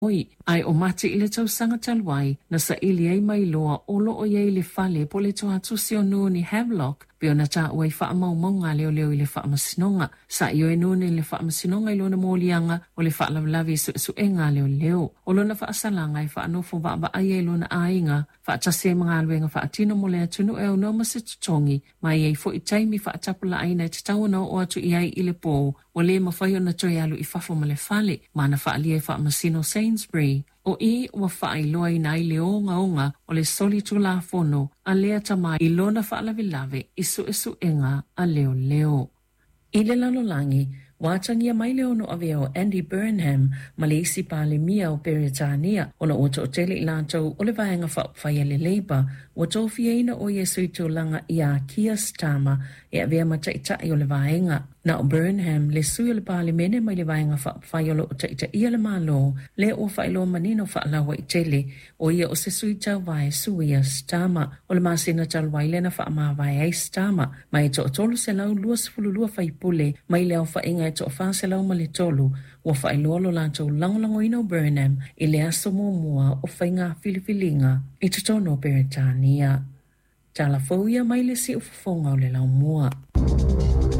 Oi, ae o Mati i le tausaga talu ai, na saili ai ma iloa o lo o i ai i le fale po o le toatusi o Noone Havelock, pei ona taua i faamaumauga a leoleo i le faamasinoga. Sa ioe Noone i le faamasinoga i lona moliaga o le faalavelave i suesuega a leoleo. O lona faasalaga e faanofo vaavaaia i lona aiga, faatasi ai ma galuega faatino mo le atunuu e aunoa ma se totogi, ma e i ai foi taimi faatapulaaina e tatau ona oo atu i ai i le po, ua le mafai ona toe alu i fafo ma le fale, ma na faaalia e Faamasino Sainsbury. O i ua faailoaina ai le ogaoga o le solitulafono a lea tama i lona faalavelave i suesuega a leoleo. I le lalolagi, ua atagia mai le ono avea o Andy Burnham ma le isi Palemia o Peretania ona ua toatele i latou o le Vaega Faaupufai a le Labour ua tofiaina o ia e sui tulaga iā Keir Starmer e avea ma taitai o le vaega. Na o Burnham, le sui o le Palemene mai le Vaega Faaupufai o lo o taitaia le Malo, lea ua faailoa manino faalauaitele, o ia o se sui tauva e suia Starmer. O le masina talu ai lea na faamavae ai Starmer, ma e toa-322 faipule mai le aofaiga e toa-403 ua faailoa lo latou lagolagoina o Burnham i le aso muamua o faiga filifiliga i totonu o Peretania. Tala fou ia mai le siufofoga o le laumua.